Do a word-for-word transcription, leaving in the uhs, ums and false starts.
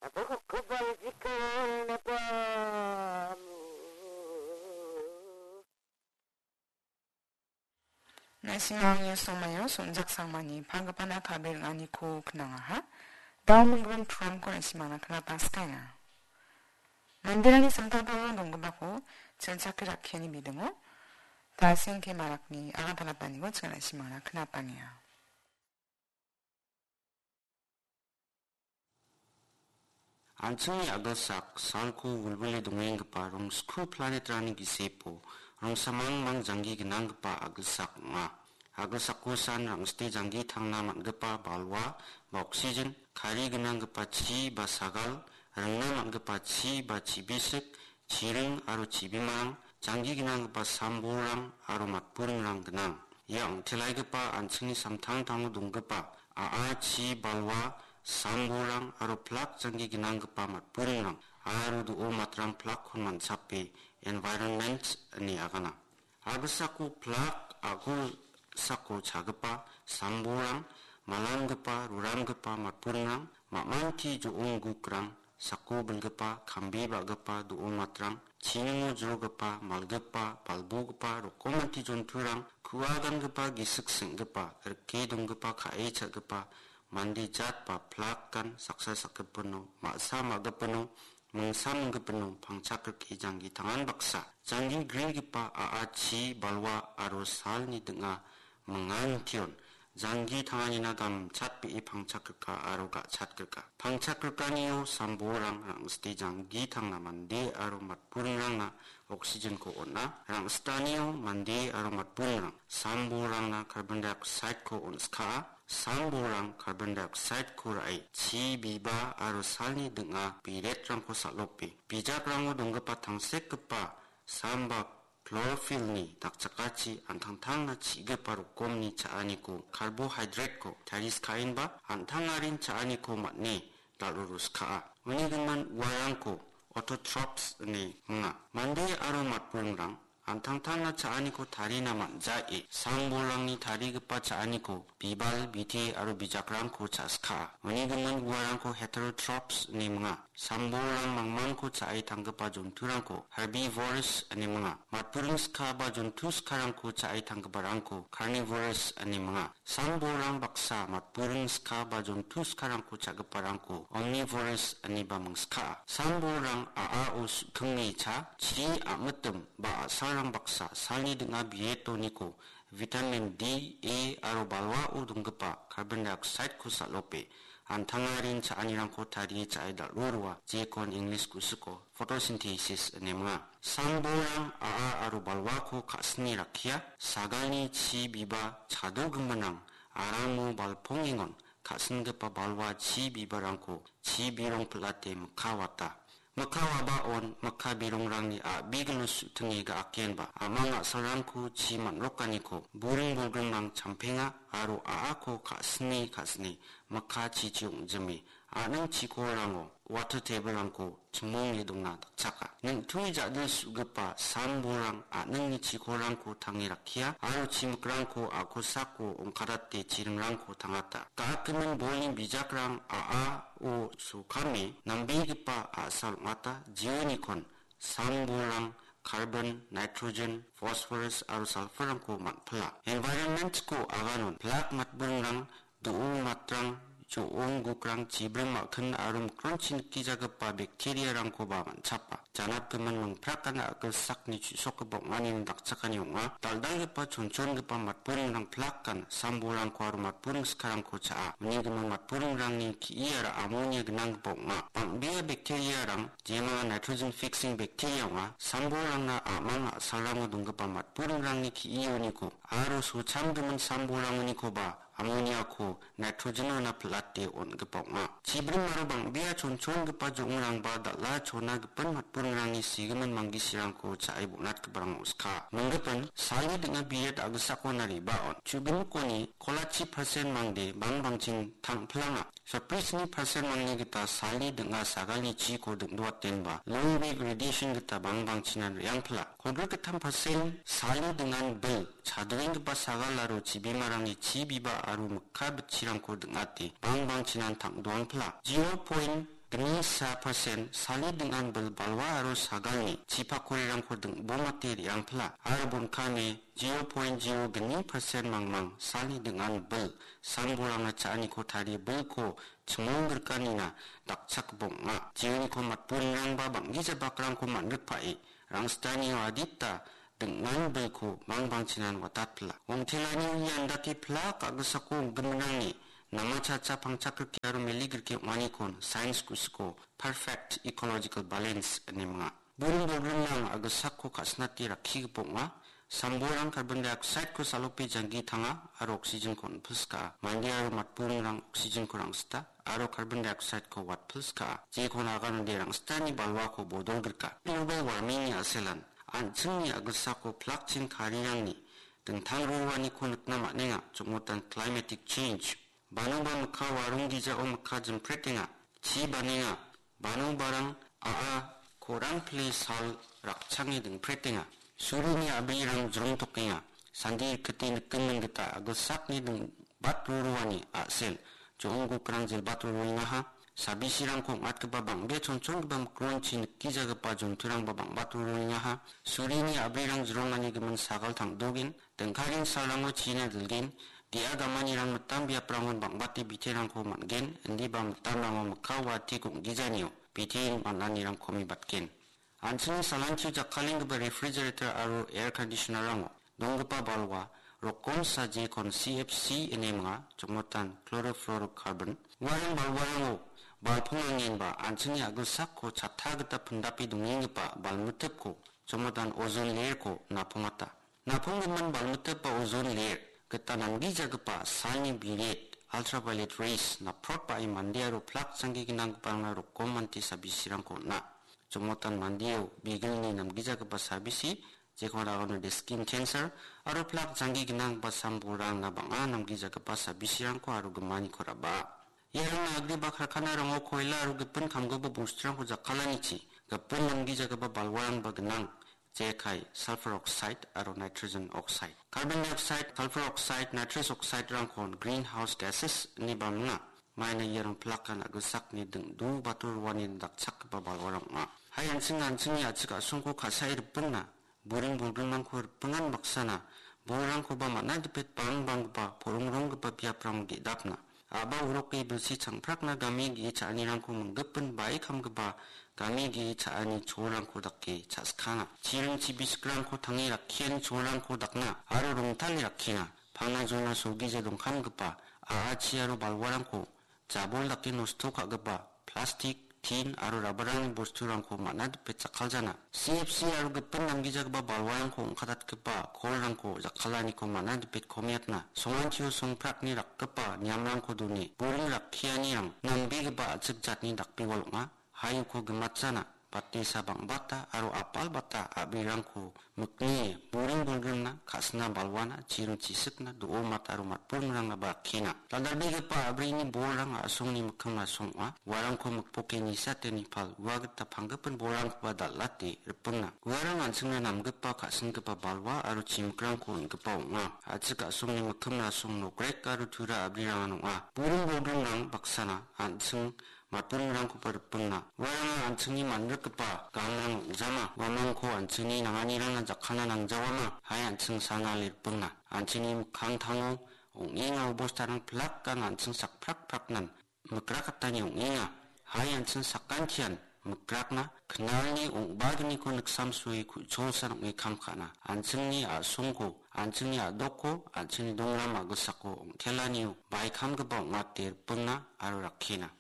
Apo hokko bal jikal na pa mu. Na·simangni somaio songjak sangmani pagipana ka·be ring·aniko knangaha. Dao minggimin program-ko na·simangna knataskaenga. Manderangni samtangtango donggipako chingchake rakkiani bidingo, Tasing K. Marakni agantalataniko ching na·simangna knatangenga. An·chingni a·gilsak salko wilwile dongenggipa rongsku planetrangni gisepo rongsamangmang janggi gnanggipa a·gilsak ong·a. A·gilsako san rang·site janggi tangna man·gipa balwa ba oksigen, kari gnanggipa chi ba sagal, ringna man·gipa chi ba chibisik, chiring aro chibimarang, janggi gnanggipa sambolrang aro matburingrang gnang. Ia ong·telaigipa an·chingni samtangtango donggipa a·a, chi, balwa, sambolrang aro plak janggi gnanggipa matburingrang aro do·o matrang plakkon man·chape environment ine agana. A·gilsako plak, a·gilsako chagipa sambolrang, malanggipa, ruramgipa matburingrang, mamangti jo·ong gukrang, sako bilgipa, kambe ba·gipa do·o matrang, chiningo jrogipa, malgipa, balbogipa, rokomati jonturang, ku·a gangipa, gisik seng·gipa, rike donggipa, ka·e cha·gipa, mande jat ba plakan saksa sakgipino, ma·sa ma·gipino, mingsa minggipino pangchak rike janggi tangan baksa. Janggi grigipa a·a, chi, balwa aro salni ding·a mingan tion. Janggi tanganina gamchatbe·e pangchak rika aro ga·chat rika. Pangchak rikanio sambolrang rang·site janggi tangna mande aro matburingrangna oksigenko on·a. Rang·sitanio mande aro matburingrang sambolrangna carbon dioxideko on·skaa. Sambolrang carbon dioxideko ra·e chi biba aro salni ding·a biretrangko sal·ope. Bijakrango donggipa tangsekgipa sam ba chlorophyllni dakchakachi an·tangtangna chi·gipa rokomni cha·aniko, carbohydrateko tariskaenba an·tangarin cha·aniko man·e dal·ruruskaa. Uni gimin uarangko autotrophs ine minga. Mande aro matburingrang an·tangtangna cha·aniko tarina man·jae, sambolrangni tarigipa cha·aniko bibal, bite aro bijakrangko cha·skaa. Uni gimin uarangko heterotrophs ine minga. Sambolrang mangmangko cha·e tanggipa jonturangko herbivores ine minga. Matburing skaba jontu skarangko cha·e tanggiparangko carnivores ine minga. Sambolrang baksa matburing skaba jontu skarangko cha·giparangko omnivores ineba mingskaa. Sambolrang a·ao su·tinge cha, chi, a·mitim ba a·salrang baksa salni ding·a bietoniko vitamin D, A aro balwao donggipa carbon dioxideko sal·ope an·tangarin cha·anirangko tarie cha·e dal·rurua, jekon English kusiko photosynthesis ine minga. Sambolrang a·a aro balwako ka·sine rakkia, sagalni chi biba chadogiminrang aramo balpongengon ka·singipa balwa chi bibarangko chi birong pil·ate mikka wata. Mikka wabaon mikka birongrangni a·bigilo su·tinge ga·akenba, a·mang a·salrangko chi man·rokaniko buring bolgrimrang champenga aro a·ako ka·sine ka·sine mikka chichi ong·jime, a·ning chikorango water table-rangko chimonge dongna dakchaka. Neng·tui ja·dil su·gipa sambolrang a·ningni chikorangko tange rakkia aro chimikrangko a·kosako ongkadate chiringrangko tangata. Ga·akimin bolni bijakrang a·ao sokame nambegipa a·sal ong·ata, jionikon sambolrang carbon, nitrogen, phosphorus aro sulfur-rangko man·pila. Environment-ko aganon plak matburingrang, do·o matrang, jo·ong gukrang, chibrim ma·kin aro mikronchi nikijagipa bacteria-rangkoba man·chapa. Janatgimin mingprakan a·gilsakni chu·sokgipa ong·anini dakchakani ong·a. Dal·dalgipa chonchongipa matburingrang plakan sambolrangko aro matburing skarangko cha·a. Uni gimin matburingrangni ki·iara amonia gnanggipa ong·a. Bang·bea bacteria-rang, jemanga nitrogen fixing bacteria ong·a, sambolrangna a·mang a·salrango donggipa matburingrangni ki·ioniko aro sochamgimin sambolrangonikoba amoniako nitrogen-ona pil·ate on·gipa ong·a. Chibrim aro bang·bea chonchongipa jo·ongrangba dal·a chona gipin matburingrangni sigimin manggisirangko cha·e bonatgiparang ong·ska. Minggipin, salni ding·a biret a·gisako nariba on. Chubinmikoni kolachi persen mangde bangbangchin tang·pilanga. Saprisni persen mangni gita salni ding·a sagalni chiko dingdoatenba long wave radiation gita bangbangchinan re·angpila. Kolgrikgittam persen salni dingan bil chadoenggipa sagal aro chibimarangni chi biba aro mikka bitchirangko ding·ate bangbangchinan tang·doangpila. Zero point gni sa persen salni ding·an bil balwa aro sagalni chipakorirangko ding·bomate re·angpila aro bonkane zero point zero gni persen mangmang salni ding·an bil sambolrangna cha·aniko tarie bilko chimongrikanina dakchakgipa ong·a. Jeoniko matburingrangba bang·gija bakrangko man·rikpae rangstanio adita ding·an bilko bangbangchinan watatpila. Ongtelanio ian dake plak a·gisako ong·giminrangni namachacha pangchakrike aro meligrike ong·anikon sains kusiko perfect ecological balance ine minga. Buring bolgrimrang a·gisako ka·sinate rakkigipa ong·a. Sambolrang carbon dioxide-ko salope janggi tanga aro oxygen-ko on·pilska. Mande aro matburingrang oxygen-ko rangsita aro carbon dioxide-ko watpilska. Jekon aganode rangsitani balwako bodolgrika. Global warming-ni a·selan an·chingni a·gisako plakching karirangni dingtang roaniko nikna man·enga, chongmotan climatic change. Banoba mikka warong gijao mikka jimpretenga, chi banenga, banobarang a·a korang pile sal rakchange dingpretenga. Surini a·brirang jrongtokenga, sandi rikite nikgimin gita a·gisakni dingbat roroani a·sel, jo·ong gokrang jilbat roroengaha, sabisirangko ong·atgipa bang·bea chonchongipa mikronchi nikgijagipa jonturangba bang·bat roroengaha, surini a·brirang jrongani gimin sagal tang·dogen, dingkaring salrango china dilgen, dia gamanirang mitam biaprangon bang·bate biterangko man·gen, indiba mitamrango mikka wati gong·gijanio bite man·anirangko mibatgen. An·chingni salantio jakkalenggipa refrigerator aro air conditioner-rango donggipa balwa rokomsa jekon C F C ine minga, chongmotan chlorofluorocarbon. Uarang balwarango balpongangenba an·chingni a·gilsakko chatta gita pindape dongenggipa balmitipko chongmotan ozone layer-ko napongata. Naponggimin balmitip ba ozone layer gita namgijagipa salni biret, ultraviolet rays, naprotbae mande aro plak janggi gnanggiparangna rokomante sabisirangko on·a. Chongmotan mandeo bigilni namgijagipa sabisi, jekon aganode skin cancer, aro plak janggi gnanggipa sambolrangna bang·a namgijagipa sabisirangko aro gimaniko raba. Iarangna agreba karkanarango koila aro gipin kamgipa bosturangko jakkalanichi, gipin namgijagipa balwarangba gnang. Jekai, sulfur oxide aro nitrogen oxide. Carbon dioxide, sulfur oxide, nitrous oxide-rangkon greenhouse gases ine ba minga. Maina iarang plakan a·gilsakni dingdu bator roani dakchakgipa balwarang ong·a. Hai an·ching an·chingni a·chik a·songko ka·sae ripingna, buring bolgrimrangko ripingan baksana, bolrangkoba man·a dipet bangbanggipa, porongronggipa biaprango ge·dapna. A·ba oroke bilsi changprakna game ge·e cha·anirangko minggipin bae kamgipa game ge·e cha·ani cholrangko dake cha·skana. Chiring chibisikrangko tange rakkiani cholrangko dakna aro rongtale rakkena. Pangna jona solgija dongkamgipa a·achi aro balwarangko jabol dake nosto ka·gipa plastik, tin aro rabarangni bosturangko man·a dipet jakkaljana. C F C aro gipin namgijagipa balwarangko ong·katatgipa kolrangko jakkalaniko man·a dipet komiatna. Songantio songprakni rakgipa niamrangko done. Buring rakkianirang nambegipa a·chik jatni dakbewal ong·a. Hai uko gimatjana, batesa bang·bata aro apalbata a·brirangko miknie, buring bolgrimna, ka·sina balwana, chiring chisikna, do·o mat aro matburungrangna ba rakkena. Dal·dalbegipa a·brini bolrang a·songni mikkim rasong ong·a. Uarangko mikpoke nisate nipal ua gita panggipin bolrangkoba dal·ate ripingna. Uarang an·chingna namgipa ka·singipa balwa aro chimikrangko on·gipa ong·a. A·chik a·songni mikkim rasong nokrek aro tura a·brirangan ong·a. Buring bolgrimrang baksana an·ching matburingrangkoba ripingna. Uarang an·chingni manrikgipa gangrang ong·jama. Uamangko an·chingni nanganirangna jakkalna nangjawama. Hai an·ching sanale ripingna. An·chingni mikkangtango ong·enga obostarang plak an·ching sakprakpraknan mikrakatani ong·enga. Hai an·ching sakantian mikrakna knalni ong·bagniko niksamsoe ku·cholsan ong·e kam ka·na. An·chingni a·songko, an·chingni a·dokko, an·chingni dongram a·gisako ong·telanio baikamgipa ong·ate ripingna aro rakkena.